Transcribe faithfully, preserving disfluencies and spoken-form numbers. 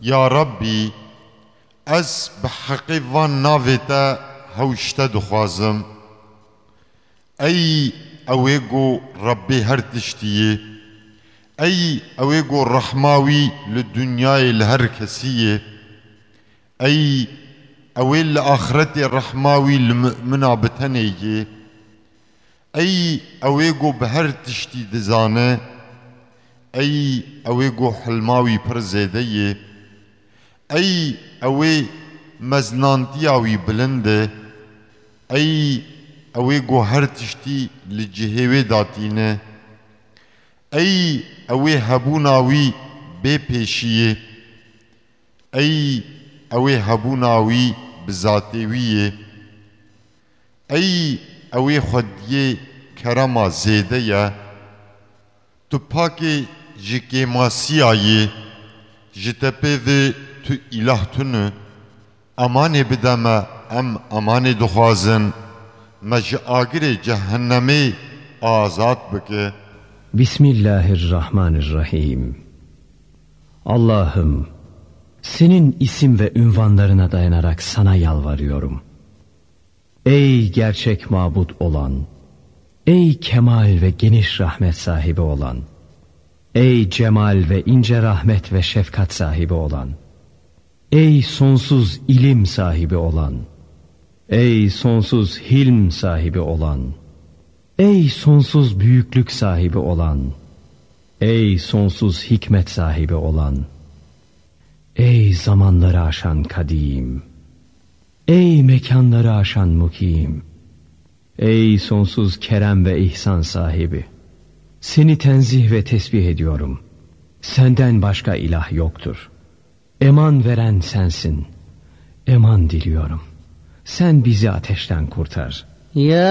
Ya Rabbî, ez bi heqê van navê te hew ji te dixwazim. Ey ew ê ku Rebbê her tiştî yê. Ey ew ê ku rehma wî li dinyayê li her kesî yê. Ey ew ê li axretê rehma wî li mumina bi tenê yê. Ey ew ê ku bi her tiştî dizane. Ey ew ê ku hilma wî pir zêde yê. Ey ew ê meznantiya wî bilind e. Ey ew ê ku her tiştî li cihê wê datîne. Ey ew ê hebûna wî bê pêşî yê. Ey ew ê hebûna wî bi zatê wî yê. Ey ew ê xwediyê kerema zêde ye. Tu pakê ji kêmasiya yê. Ji te pê ve tu îlah tune. Emanê bide me, em emanê dixwazin. Me ji agirê cehennemê azad bike. Bismillahirrahmanirrahim. Allah'ım, senin isim ve ünvanlarına dayanarak sana yalvarıyorum. Ey gerçek mabut olan, ey kemal ve geniş rahmet sahibi olan, ey cemal ve ince rahmet ve şefkat sahibi olan, ey sonsuz ilim sahibi olan, ey sonsuz hilm sahibi olan, ey sonsuz büyüklük sahibi olan, ey sonsuz hikmet sahibi olan, ey zamanları aşan kadim, ey mekanları aşan mukim, ey sonsuz kerem ve ihsan sahibi, seni tenzih ve tesbih ediyorum. Senden başka ilah yoktur. Eman veren sensin. Eman diliyorum. Sen bizi ateşten kurtar. Ya